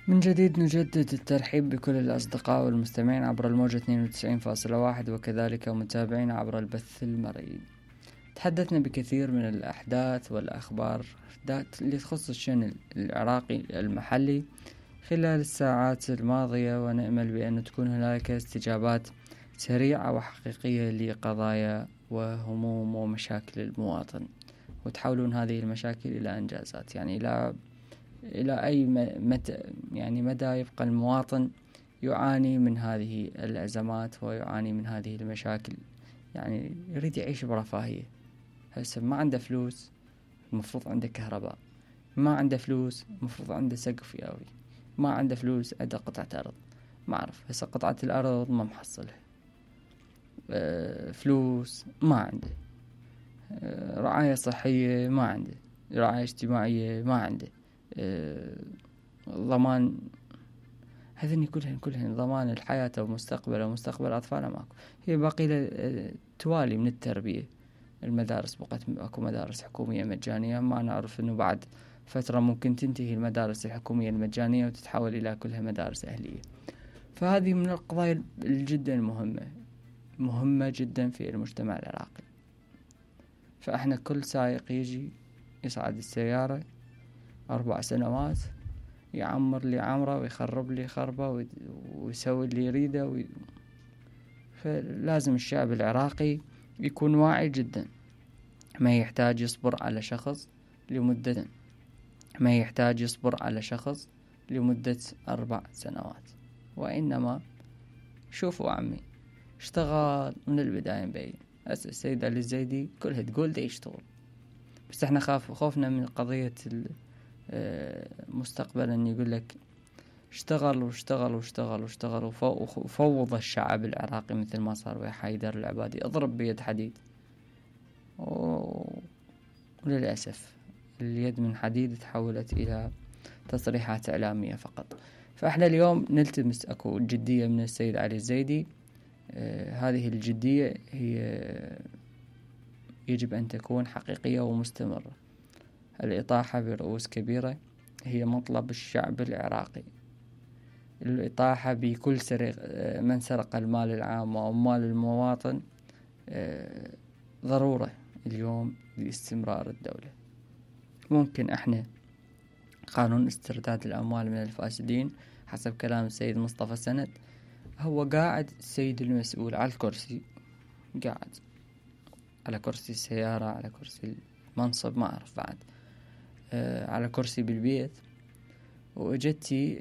من جديد نجدد الترحيب بكل الأصدقاء والمستمعين عبر الموجة 92.1 وكذلك متابعين عبر البث المرئي. تحدثنا بكثير من الأحداث والأخبار اللي تخص الشأن العراقي المحلي خلال الساعات الماضية، ونأمل بأن تكون هناك استجابات سريعة وحقيقية لقضايا وهموم ومشاكل المواطن، وتحولون هذه المشاكل إلى إنجازات، يعني إلى أي مدى يبقى المواطن يعاني من هذه الأزمات ويعاني من هذه المشاكل، يعني يريد يعيش برفاهية. هسه ما عنده فلوس، المفروض عنده كهرباء، ما عنده فلوس المفروض عنده سقف ياوي، ما عنده فلوس عنده قطعة أرض، ما أعرف هسه قطعة الأرض ما محصلها، فلوس ما عنده، رعاية صحية ما عنده، رعاية اجتماعية ما عنده، ضمان هذني كلهن ضمان الحياة ومستقبله ومستقبل أطفاله ماكو. هي باقي له توالي من التربية. المدارس بقت اكو مدارس حكومية مجانية، ما نعرف انه بعد فترة ممكن تنتهي المدارس الحكومية المجانية وتتحول الى كلها مدارس اهلية. فهذه من القضايا الجدا مهمة جدا في المجتمع العراقي. فاحنا كل سائق يجي يصعد السيارة 4 سنوات يعمر لي عمره ويخرب لي خربه ويسوي اللي يريده فلازم الشعب العراقي يكون واعي جدا، ما يحتاج يصبر على شخص لمدة 4 سنوات، وإنما شوفوا عمي اشتغل من البداية مبين. هسه السيد علي الزيدي كلها تقول ده يشتغل، بس احنا خوفنا من قضية مستقبلا يقول لك اشتغل وفوض الشعب العراقي مثل ما صار ويا حيدر العبادي، اضرب بيد حديد. وللأسف اليد من حديد تحولت إلى تصريحات إعلامية فقط. فإحنا اليوم نلتمس أكو جدية من السيد علي الزيدي. هذه الجدية هي يجب أن تكون حقيقية ومستمرة. الإطاحة برؤوس كبيرة هي مطلب الشعب العراقي. الإطاحة بكل من سرق المال العام وأموال المواطن ضرورة اليوم لاستمرار الدولة. ممكن احنا قانون استرداد الأموال من الفاسدين حسب كلام السيد مصطفى سند، هو قاعد السيد المسؤول على الكرسي، قاعد على كرسي السيارة، على كرسي المنصب، ما أعرف بعد، على كرسي بالبيت، وإجتي